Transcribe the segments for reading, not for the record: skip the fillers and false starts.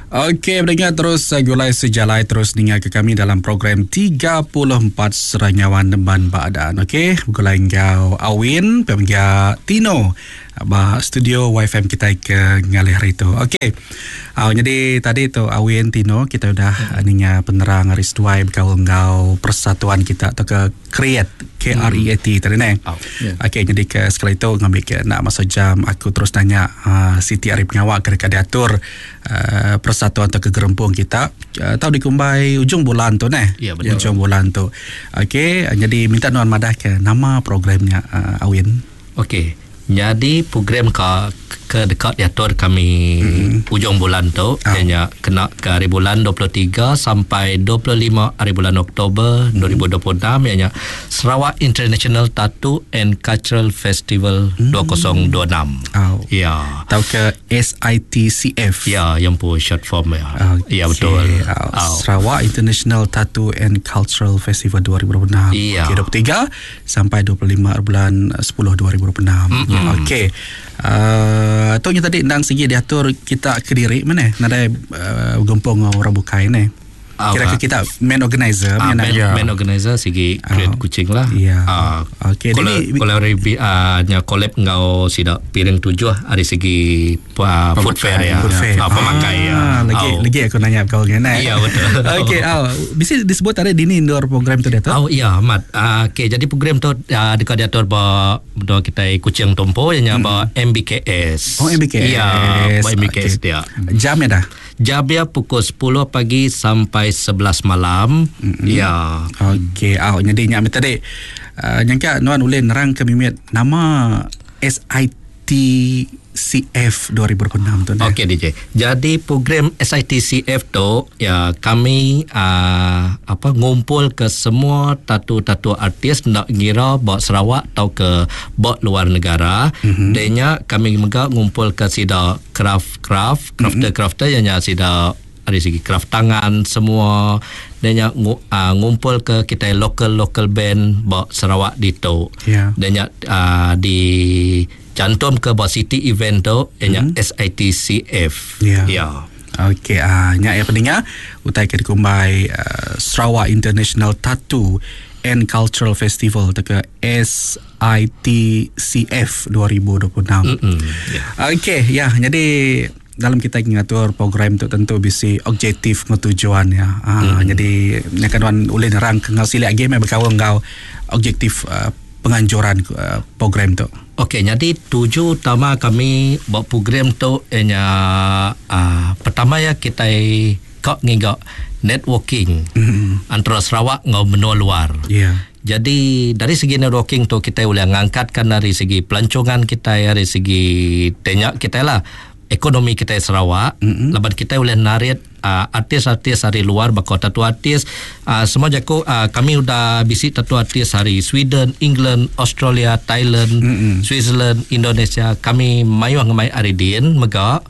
Okey, pendengar terus eh, gulai sejalai terus ninga ke kami dalam program 34 Seranyawan Nemban Baadan. Okey, begulai enggau Awin, pemega Tino ba studio YFM kita ke ngalih hari tu. Okey. Uh, jadi tadi tu Awin Tino kita udah hmm. ninga penerang hari seduai berkaul enggau persatuan kita atau ke Create K R E A T tadi ne. Oh, yeah. Okey jadi ke sekali tu ngambil ke nak masa jam aku terus nanya uh, Siti ari pengawa ke dekat diatur uh, persatuan atau ke gerempung kita uh, tau dikumbai ujung bulan tu neh. Ya, betul. Ujung bulan tu. Okey jadi minta nuan madah ke nama programnya uh, Awin. Okey. Nyadi program ka ke deka diatur kami mm. ujung bulan tu oh. iya nya kena ke hari bulan 23 sampai 25 hari bulan Oktober mm. 2026 iya nya Sarawak International Tattoo and Cultural Festival mm. 2026. Oh. Ya. Tau ke SITCF. Ya, yang pun short form ya. Okay. Ya betul. Oh. Sarawak International Tattoo and Cultural Festival 2026. Ya. Okay, 23 sampai 25 bulan 10 2026. Mm-hmm. Okey. Uh, tu nya tadi endang sigi diatur kita kediri mana nadai uh, gempung orang bukai ne. Kira ke kita main organizer uh, main, yeah. main organizer sigi create uh, kucing lah. Ya. Yeah. Uh, Okey, jadi kolab uh, nya collab ngau sida piring tujuh hari segi uh, food fair ya. Food fair. Uh, pemakai ya. Lagi oh. lagi aku nanya kau ngene. Ya betul. Okey, oh. Bisa disebut tadi dini indoor program tu dia tu? Oh ya, amat. Uh, Okey, jadi program tu uh, dekat diatur ba doa kita Kuching Tompo yang mm. ba MBKS. Oh MBKS. Ya, ba MBKS okay. dia. Jam ya dah. Jam dia pukul 10 pagi sampai 11 malam. Mm-hmm. Ya. Okey, oh, jadi nyak tadi uh, nyangka nuan ulih nerang ke mimit nama SITCF 2026 tu. Okey DJ. Jadi program SITCF tu ya kami uh, apa ngumpul ke semua tatu-tatu artis nak ngira bak Sarawak atau ke bak luar negara. Mm-hmm. Denya kami juga ngumpul ke sida craft craft crafter mm-hmm. crafter yang nya sida dari segi craft tangan semua dan uh, ngumpul ke kita local local band bak Sarawak ditu. Yeah. Dan uh, di cantum ke bak city event tu ianya mm-hmm. SITCF. Ya. Yeah. Okey, ah uh, nyak ya pendengar utai ke dikumbai uh, Sarawak International Tattoo and Cultural Festival atau ke SITCF 2026. Mm-hmm. Yeah. Okey, ya jadi dalam kita ngatur program tu tentu bisi objektif ngau tujuan ya. Ah mm-hmm. jadi nyakan wan ulih nerang ke ngau silik agi meh bekaul enggau objektif uh, penganjuran uh, program tu. Okey, jadi tuju utama kami buat program tu ianya uh, pertama ya kita kak ngiga networking mm-hmm. antara Sarawak ngau benua luar. Ya. Yeah. Jadi dari segi networking tu kita boleh ngangkatkan dari segi pelancongan kita dari segi tenyak kita lah ekonomi kita Sarawak mm-hmm. laban kita boleh narik uh, artis-artis dari luar bakal tattoo artis uh, semua jago uh, kami udah bisi tattoo artis dari Sweden, England, Australia, Thailand, mm-hmm. Switzerland, Indonesia kami mayuh ngemai aridin mega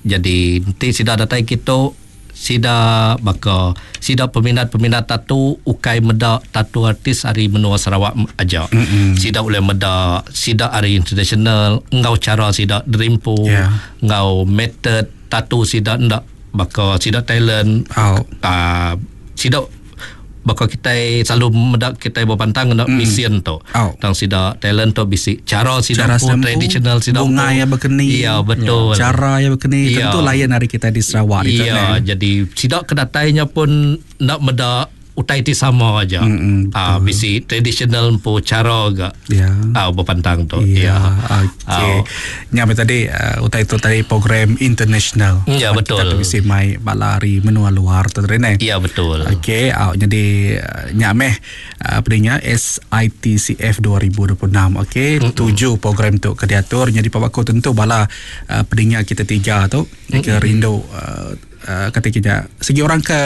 jadi nanti sida datai kita sida baka sida peminat-peminat tattoo ukai meda tattoo artis ari menua Sarawak aja. Mm-hmm. Sida boleh meda sida ari international ngau cara sida derimpu yeah. ngau method tattoo sida ndak baka sida Thailand oh. uh, sida baka kita selalu meda kita berpantang kena mm. mission tu. Oh. Tang sida talent tu bisi cara sida Cara pun sempu, traditional sida bunga pun. yang berkeni. Ya betul. Cara yang berkeni Ya. tentu lain dari kita di Sarawak itu Ya, jadi sida kedatainya pun nak meda utai ti sama aja. Mm-mm, Ah bisi traditional pun cara gak. Ya. Ah berpantang tu. Ya, Ya. okey. Nyampe tadi uh, utai itu tadi program international. Ya, betul. Kita bisi mai balari menua luar tu tadi ne. Ya betul. Okey, uh, jadi uh, nyameh uh, pendengar SITCF 2026. Okey, mm-hmm. tuju program tu ke diatur jadi pak aku tentu bala uh, pendengar kita tiga tu mm-hmm. ke rindu uh, uh, kata kita segi orang ke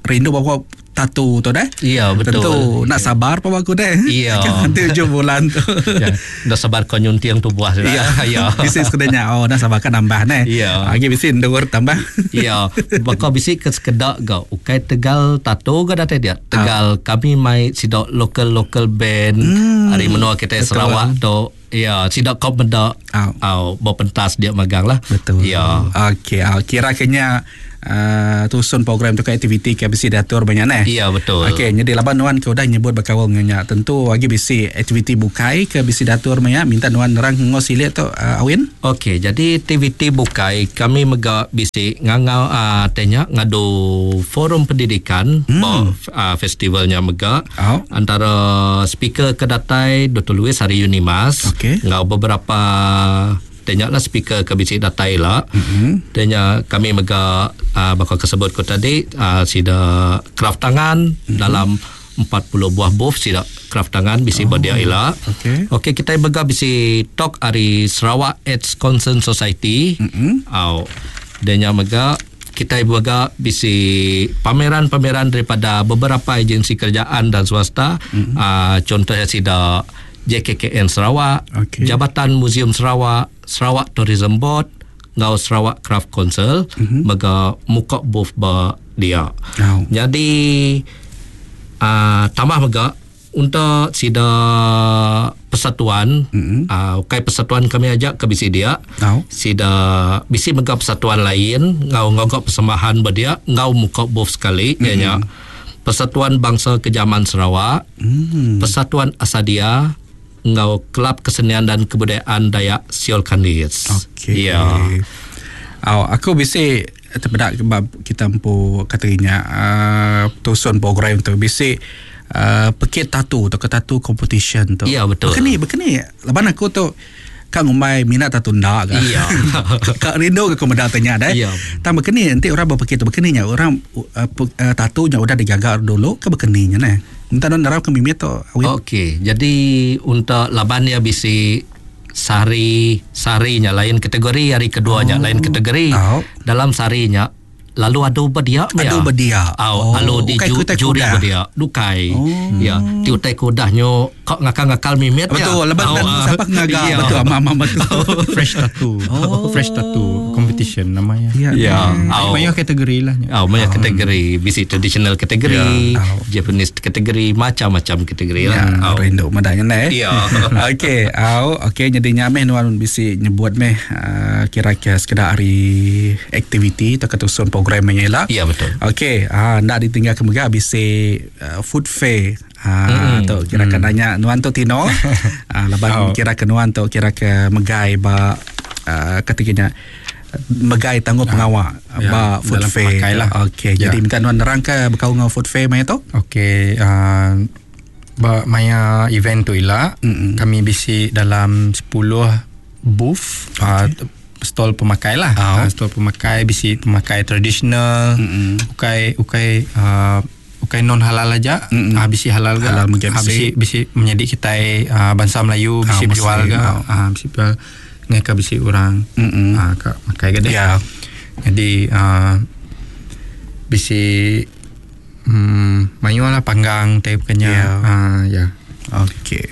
rindu bawa tatu tu deh. Ya, betul. Tentu nak sabar pak aku deh. Ya. Nanti ujung bulan tu. Ya, dah sabar kau nyuntiang tu buah sudah. Ya. Ya. Bisi sekedanya oh nak sabar kan nambah ne. Ya. Lagi bisi ndur tambah. Ya, baka bisi ke sekedak gak ukai Tegal tato ga datai dia. Tegal kami mai sidak local local band hmm, hari menua kita betul. Sarawak tu. Ya, sidak kau meda Au. au berpentas dia magang lah. Betul. Ya. Okey, ah, kira kenya uh, tusun program tu ke aktiviti ke bisi diatur ba nya neh. Ya betul. Okey, nyadi laban nuan ke udah nyebut bekaul enggau nya, tentu agi bisi aktiviti bukai ke bisi diatur meh nya, minta nuan nerang enggau silik tu uh, Awin. Okey, jadi aktiviti bukai kami mega bisi ngangau uh, teh nya ngadu forum pendidikan hmm. ba uh, festival nya mega. Oh. Antara speaker ke datai Dr. Louis ari Unimas okay. enggau beberapa Te nya lah speaker ke bisi datai ila. Mm-hmm. Te nya kami mega uh, baka ke sebut ku tadi uh, sida kraft tangan mm-hmm. dalam 40 buah booth sida kraft tangan bisi oh. dia ila. Okey. Okey kita mega bisi talk ari Sarawak AIDS Concern Society. Mm-hmm. Au. Dan nya mega kita mega bisi pameran-pameran daripada beberapa agensi kerajaan dan swasta. Mm-hmm. Uh, contohnya sida JKKN Sarawak, okay. Jabatan Museum Sarawak, Sarawak Tourism Board enggau Sarawak Craft Council mm-hmm. mega muka booth ba dia. Oh. Jadi uh, tambah mega untuk sida persatuan mm-hmm. uh, ukai persatuan kami aja ke bisi dia. Oh. Sida bisi mega persatuan lain ngau ngau persembahan ba dia ngau muka booth sekali mm-hmm. ianya Persatuan Bangsa Kejaman Sarawak, mm. Persatuan Asadia enggau Kelab Kesenian dan Kebudayaan Dayak Siol Kandis. Okey. Ya. Oh, aku bisi terpedak bab kita empu katanya uh, tusun program tu bisi uh, pekit tatu atau tatu competition tu. Ya, betul. Bekeni, bekeni. Laban aku tu kak ngumbai minat tatu ndak ka. Ya. Kak rindu ke aku meda tanya deh. Ya. Tang bekeni nanti orang berpekit tu bekeni nya orang uh, uh, tatu nya udah digaga dulu ke bekeni nya neh. Minta non darau ke mimit tu. Okey, jadi untuk laban dia bisi sari sarinya lain kategori hari keduanya Oh. lain kategori. Oh. Dalam sarinya lalu adu berdia Adu berdia. Oh, Oh, lalu di ukai ju, kutai juri kuda. berdia dukai. Oh. Ya, ti utai kudah nyo kok ngakal-ngakal mimit ya. Betul, lepas Oh, dan ah. siapa ngaga Ya. betul ama betul. Fresh tattoo. Oh. Fresh tattoo competition namanya. Ya. Ya. Oh. Banyak kategori lah. Oh, banyak kategori, bisi traditional kategori, Ya. Oh. Japanese kategori, macam-macam kategori lah. Ya, Oh. rindu madanya neh. Ya. Okey, au okey jadi nyameh nuan bisi nyebut meh uh, kira-kira sekedar hari aktiviti atau ketusun programnya lah. Ya, betul. Okey, ah nak ditinggal ke mega bisi uh, food fair. Ha tu kira ke nanya nuan tu Tino. Ah laban Oh. kira ke nuan tu kira ke megai ba uh, ketikanya megai tangguh pengawak Ya, ba food dalam fair. pemakai lah. Okey, Ya. jadi minta nuan nerang ke bekau ngau food fair maya tu? Okey, uh, ba maya event tu ila Mm-mm. kami bisi dalam 10 booth okay. uh, stall pemakai lah. Oh. Uh, stall pemakai bisi pemakai tradisional, Mm-mm. ukai ukai uh, ukai non halal aja, Mm-mm. uh, bisi halal ga. Halal mungkin Ah, bisi. bisi bisi menjadi kita uh, bangsa Melayu bisi Ah, berjual Muslim, ga, oh. uh, bisi jual ngai ka bisi orang Mm-mm. uh, ka makai ga deh. Ya. Jadi uh, bisi mayu lah panggang teh bukannya. Ya. Uh, ya. Okey.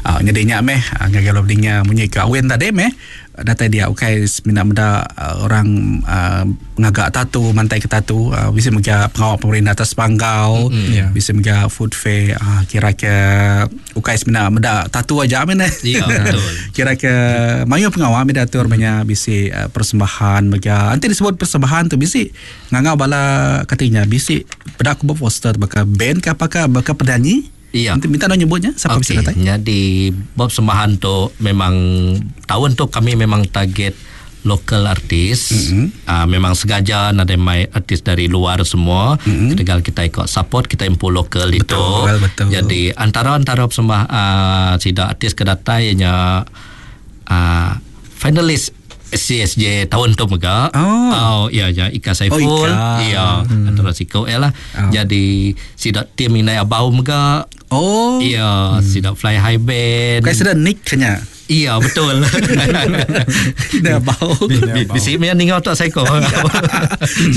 Ah jadi nya meh ah, ngagai lo dinga munyi ke awin tadi meh datai dia ukai semina meda ah, orang uh, ngagak tatu mantai ke tatu uh, bisa mega pengawal pemerintah atas panggau Mm-mm. Ya. bisa mega food fair uh, kira ke ukai semina meda tatu aja meh neh. Ya, betul. kira ke mayu pengawal meh diatur banyak bisi uh, persembahan mega nanti disebut persembahan tu bisi ngangau bala katanya bisi peda aku poster baka band ke apakah baka penyanyi Ya. Nanti minta nak nyebutnya siapa Okey, bisa datang? Jadi bab sembahan tu memang tahun tu kami memang target local artis. Mm-hmm. Uh, memang sengaja ada mai artis dari luar semua. Mm-hmm. Ketegal kita ikut support kita impu lokal itu. betul. Jadi antara-antara sembah uh, sida artis ke datai ianya uh, finalis CSJ tahun tu mega. Oh. Oh, ya ya Ika Saiful. Oh, Ika. Ya, antara siko lah. Oh. Jadi sida tim Inai Abau mega. Oh. Iya, sidak Fly High Band. Kayak sudah nick kenya. Iya, betul. Dah bau. Bisi punya ningau tak seko.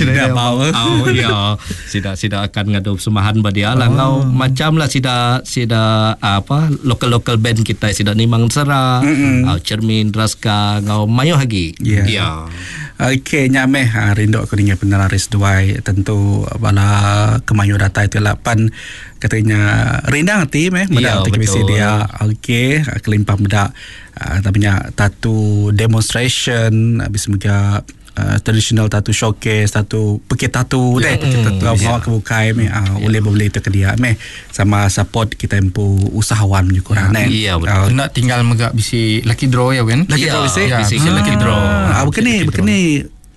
Dah bau. Oh, iya. Sidak sidak akan ngadu persembahan ba dia lah. Ngau macam lah sidak sidak apa local-local band kita sidak Nimang Sera, Mm-mm. uh, Cermin Draska, ngau mayo lagi. Ya. Iya. Okey, nyameh ha, rindu aku dengar penelaris duai tentu bala kemayu datai tu lapan katanya rindang hati meh Ya, meda yeah, betul. dia okey ha, kelimpah meda ha, tapi nya tatu demonstration habis mega uh, traditional tattoo showcase tattoo pekit tattoo deh enggau pengawa ke bukai meh uh, ulih bebeli tu ke dia meh sama support kita empu usahawan je kurang neh. Ya, betul. Uh, Nak tinggal mega bisi lucky draw ya Win. Lucky Ya, draw bisi? bisi ke lucky draw. Ah, bukan ni, Lucky bukan draw. ni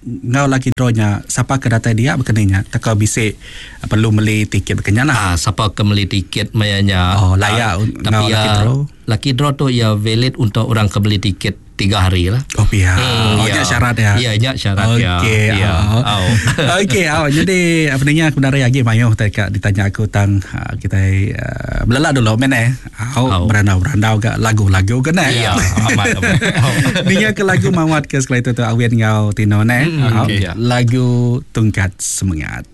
ngau lucky draw nya siapa ke datai dia bukan ni nya teka bisi ah, perlu beli tiket bukan nya lah. Ah, siapa ke beli tiket mayanya. Oh, layak Ah, un- tapi ngau ya, lucky draw. Lucky draw tu ya valid untuk orang ke beli tiket tiga hari lah. Oh pihak. oh, ya. nya syarat ya. Ya, nya syarat ya. Okey. Ya. Oh. Oh. Okey, oh. Jadi apa ni aku dari lagi mayuh tadi kak ditanya aku tang ah, kita uh, belelak dulu men eh. Oh, Oh. berandau-berandau ke lagu-lagu ke ne. Ya, amat amat. Oh. Ninga ke lagu mawat ke sekali tu tu Awin ngau Tino ne. Oh, okey. Lagu Tungkat Semangat.